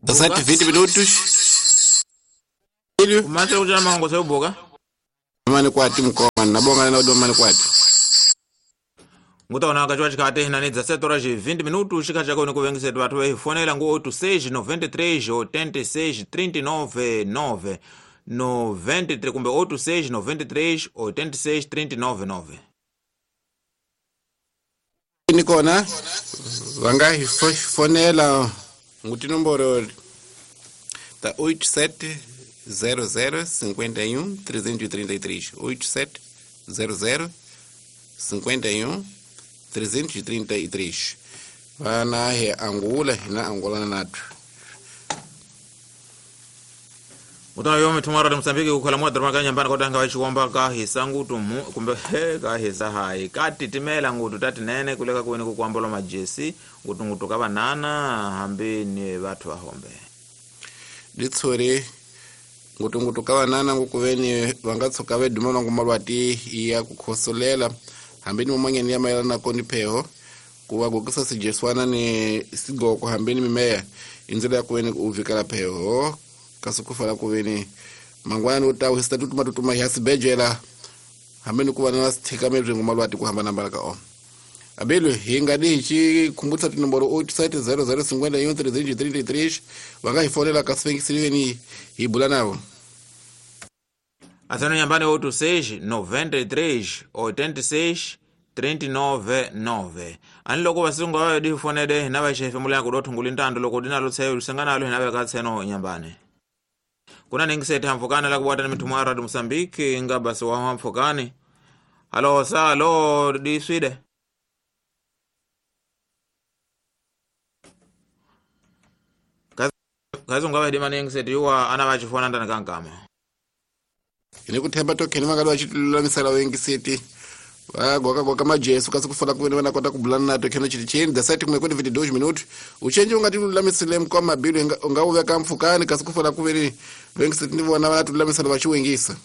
17 minutos. Filho. Kumantse kuchana mahongo seubuka. Mani kwati mkoma nabonga na udoma mani kwati. Ngutaona kachwa chikate hinani 17 horas e 20 minutos chikati chako nikuvengisetu vathu vehifonela ngu 86 93 86 39 9 93 kumbe 86 93 86 39 9. Ni kona vanga hifonela nguti nomboro ta 87 00 51 333 87 00 51 333 vana he Angola hina Angola nathu Utana yo mithumara de Mozambique kukhala mwa drama ka nyambana kotanga wa chikomba ka hisangutu mu kumbe he ka hisa hai ka titimela ngutu tatinene kuleka kuene kukwambola majesi ngutu ngutu ka banana hambi ni vathu vahombe litsore ngutu ngutu ka banana ngukuveni vangatsuka veduma vangu malwati ya kukhosolela hambi ni mumangeni ya mayelana koni pheho kuva gokisa sijeswana ni sigoko hambi ni mimeya indzela ya kuveni uvikela pheho kasi kufala kuveni mangwana ni utawu hisita tutuma tutuma ya sibejela hambi ni kuva na sithika mebzingo malwati kuhambana ka o abelu hinga di hi khumbutsa tinomboro 87 00 51 333 vanga hi fonela kasi vengisiriveni hi bula navo. Athano nyambani 86 93 86 39 9. Ani loko vasungu va di fonele hina va xefemula ya kudo thunguli ntando loko dina lo tseyo lusangana lo hina va ka tseno nyambani. Kuna ningisete hamfukana la kubwata ni mitumo ya Radio Mozambique nga basi wa hamfukani. Halo sa halo di swide. Kazi ungawa hidima ningisete yuwa ana vachifona ndani kankama. Ini kuthemba tokheni vakali vachilulamisela wengiseti vagoka goka majesu kasi kufona kuveni vanakota kubulana nato kheno chiti cheni dasati kumwe kwene 22 minutos uchenji ungatilulamisile mkwa mabilu ungawuveka mfukani kasi kufona kuveni wengiseti ni vona vanatululamisela vachiwengisa.